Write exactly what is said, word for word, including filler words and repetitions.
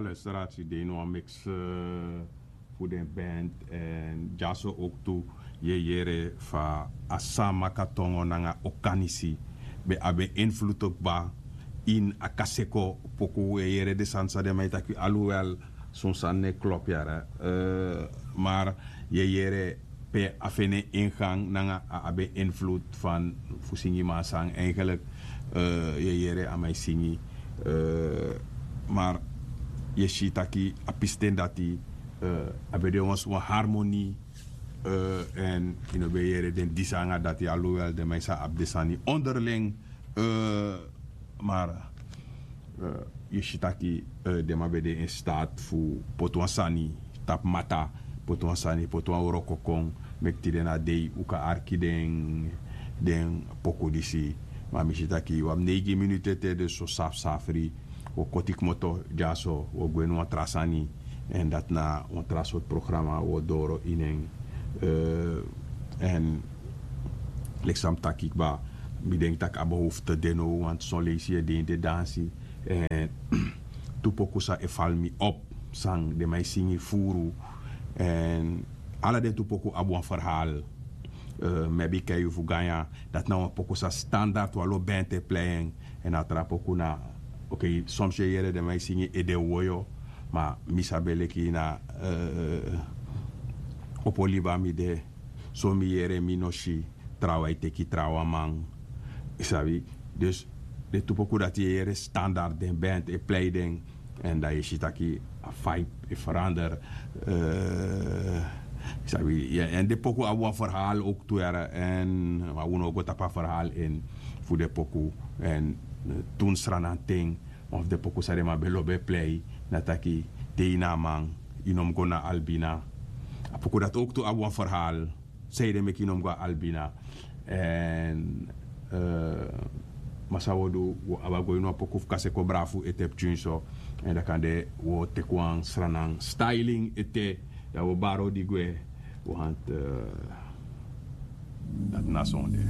Luisteraars, yu de ini wan mix fu den band, en dyaso ook tu yu e yere fa a Saamaka tongo nanga Okanisi ben abi en invloed kba ini a Kaseko poku. Yu e yere den sani san den man e taki, alhoewel son sani no e klop yara, maar yu e yere pe a feni en ingang nanga a abi en invloed fan fu singi man san eigenlijk yu e yere a man e singi. Maar yu e si taki a pisten dati a ben de wan harmonie, en yu no ben e yere den disi nanga dati, alhoewel den man e sa abi den sani onderling. Maar yu e si taki den man ben de in staat fu poti wan sani tapu mata, poti wan sani, poti wan wroko kon meki tide na dei un kan arki den den poku disi. Ma mi si taki wi abi neigi minutu ete, dus so safsafri wi o koti kmoto dyaso, wi o gwe ini wan tra sani. En dati na wan tra sortu programa wi o doro ini en. En leki san mi taki kba, mi denki tak' a behoefte de now, want son leisi yu e de ini den dansi, en tu poku san e fali mi op, san den man e singi furu. En ala den tu poku abi wan verhaal. Mi abi kai yu fu ganya, dati na wan poku san standard wan lo band e plei en. En a tra poku na, ok, soms yu e yere den man e singi ede woyo, ma mi sabi en leki na opo liba mi de. So mi yere, mi no si trawan e teki trawan man. Yu sabi? Dus den tu poku dati yu e yere standard, den band e plei den. En dan yu e si taki a vibe e verander. Yu sabi? En den poku abi wan verhaal ook tu yara, en ma un no o go tapu a verhaal in fu den poku. En tun Sranan ten, wan fu den poku san den man ben lobi e plei na taki: dei na a man, yu no mus go na Albina. A poku dati ook tu abi wan verhaal, sanede meki yu no mus go na Albina. En ma san wi o du, wi o abi a go ini wan poku fu Kaseko Brafu ete pikin so. En dan kande wi o teki wan Sranan styling ete, dan wi o bari odi gwe. Want dati na sonde.